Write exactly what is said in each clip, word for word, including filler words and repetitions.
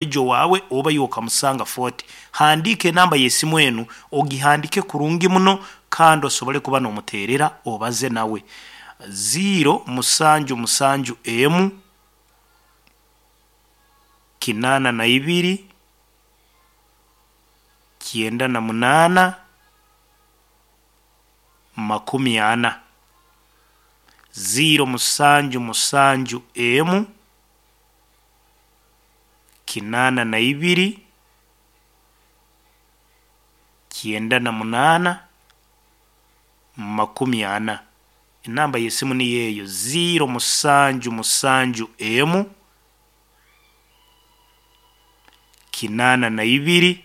Omushaija owaawe oba iwe okamusanga Fort. Handiika enamba y'esimu enu, ogihandiike kurungi muno kandi osobole kuba noomuteerera obaze nawe. Ziiro musanju musanju emu, kinaana na ibiri, kyenda na munaana, makumi ana. Ziiro musanju musanju emu, kinaana na ibiri, kyenda na munaana, makumi ana. Enamba y'esimu niyo eyo ziiro musanju musanju emu, kinaana na ibiri,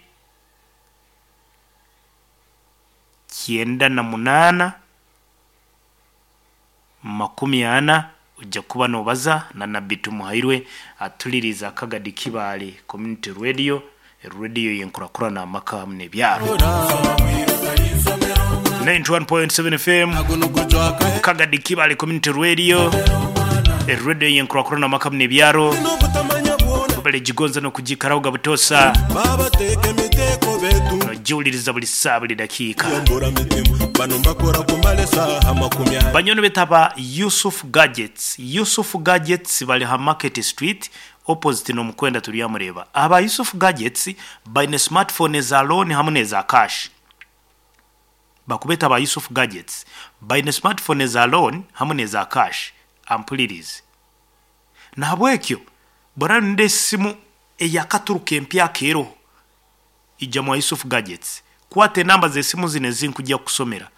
kyenda na munaana, makumi ana, ojja kuba noobaza na Nabbi Tumuhairwe atuliriize Akagadi Kibaale Community Radio, radio y'enkurakurana amaka hamu n'ebyaro. Ninety one point seven FM, Kagadi Kibaale Community Radio, radio y'enkurakurana amaka hamu n'ebyaro. Webale gigonza n'okugiikaraho butoosa nogiwuliriza buli saawa buli dakiika. Banywani baitu aba Yusuf Gadgets, Yusuf Gadgets bari ha Market Street opposite n'omukwenda Turyamureeba. Aba Yusuf Gadgets baine smartphone eza loan hamu n'eza cash. Bakubeeta aba Yusuf Gadgets baine smartphone eza loan hamu n'eza cash. Ampulirize. Nahabwekyo bw'oraba noyenda esimu eyakaturuka empyaka eroho, ija mwa Yusuf Gadgets. Kwata enamba z'esimu zinu ezinkujja kukusomera.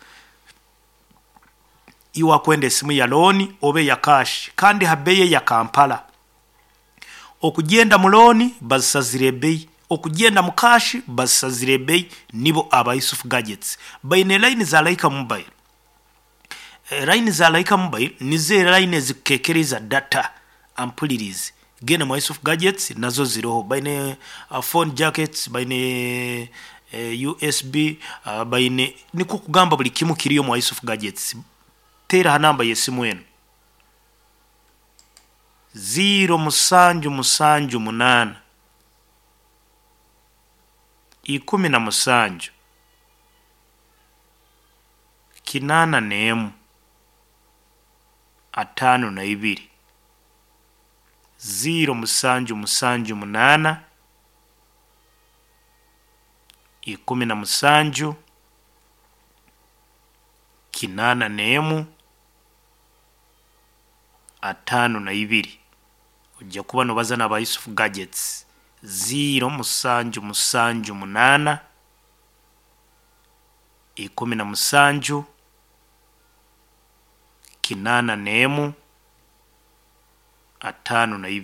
Iwe akwenda esimu ya looni oba eya cash kandi ha beeyi eya Kampala. Okugyenda mu looni bazisazire ebeeyi, okugyenda mu cash bazisazire ebeeyi, nibo aba Yusuf Gadgets. Baine layini za Laika Mobile. Layini za Laika Mobile nizo layini ezikukeekereza data ampulirize. Genda mwa Yusuf Gadgets nazo ziroho. Baine phone jackets, baine U S B, baine nikwo kugamba buli kimu kiriyo mwa Yusuf Gadgets. Teera ha namba y'esimu enu. Ziiro musanju musanju munaana, ikumi na musanju, kinaana n'emu, ataano na ibiri. Ziiro musanju musanju munaana, ikumi na musanju, kinaana n'emu, ataano na ibiri. Ojja kuba noobaza n'aba Yusuf Gadgets. Ziiro musanju musanju munaana, ikumi na musanju, kinaana n'emu, ataano na ibiri.